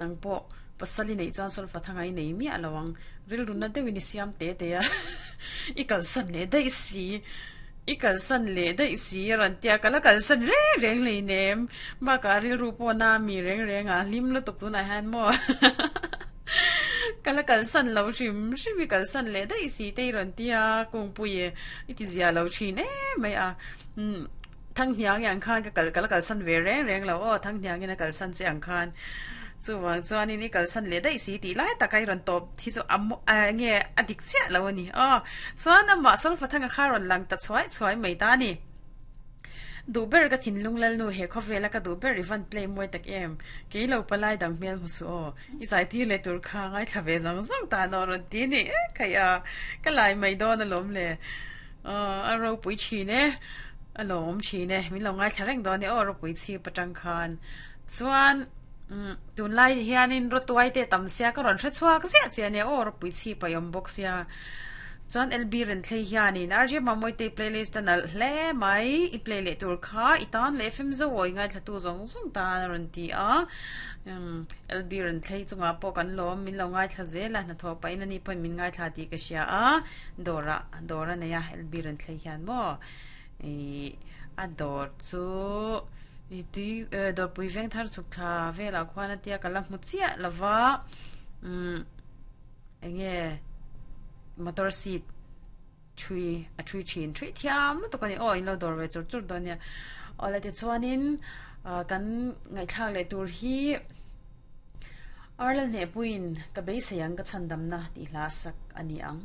Nang pawh pasal i neih chuan solfa thanga i nei miah lo ang. Rilru na deuhin i siam te te a, i kalsan leh daih si, i kalsan leh daih si a rawn tia, ka la kalsan reng reng hleinem. Bakah rilru pawh na mi reng reng a, hlim lutuk tunah hian maw ka la kalsan lo hrim hrim i kalsan leh daih si te i rawn tia, kungpui i ti zia lo thin em mai a. Umm. Thanghniang ang khan ka kal ka la kalsan ve reng reng lo aw, Thanghniangin a kalsan che ang khan. Chuvang chuanin i kalsan leh daih si tih lai taka i rawn tawp hi chu a nge a dik chiah lo a ni aw. Chuan amah Solfa Thanga kha rawn lang ta chhuai chhuai mai ta a ni. Duh ber ka thinlung lalnu he khawvela ka duh ber i van play mawi tak em. Kei lo palai dang hmel hmu suh aw. I zai tir leh tur kha ngaithla ve zawng zawng ta an aw rawn ti a ni. Khaih a, ka lai mai dawn alawm le. Aw a ropui thin e, a lawmawm thin e, min lo ngaithla reng dawn e aw ropui chhip atang khan. Chuan umm tunlai hianin rawtuai te tam sia ka rawn hre chhuak ziah chiah ania aw ropui chhip a awm bawk sia. Chuan LB Renthlei hianin RJ Mamawite playlist a nalh hle mai, i play leh tur kha i tan leh FM zo aw i ngaithlatu zawng zawng tan a rawn ti a. Umm LB Renthlei chungah pawh kan lawm, min lo ngaithla zel a, hnathawh pahin ani pawhin min ngaithla tih ka hria a. Dawrah dawr a nei a LB rawn thlei hian maw ih a dawr chu ih tui eh dawrpui veng thar chhuk thla velah khuan a tia ka la hmu chiah lo va umm eng nge motor seat thui a thui thin thui thiam lutuk a ni aw in lo dawr ve chur chur dawn nia awle tichuanin ah kan ngaihthlak leh tur hi. Arla hnehpuiin ka beisei ang ka chhandamna tih hla sak a ni ang.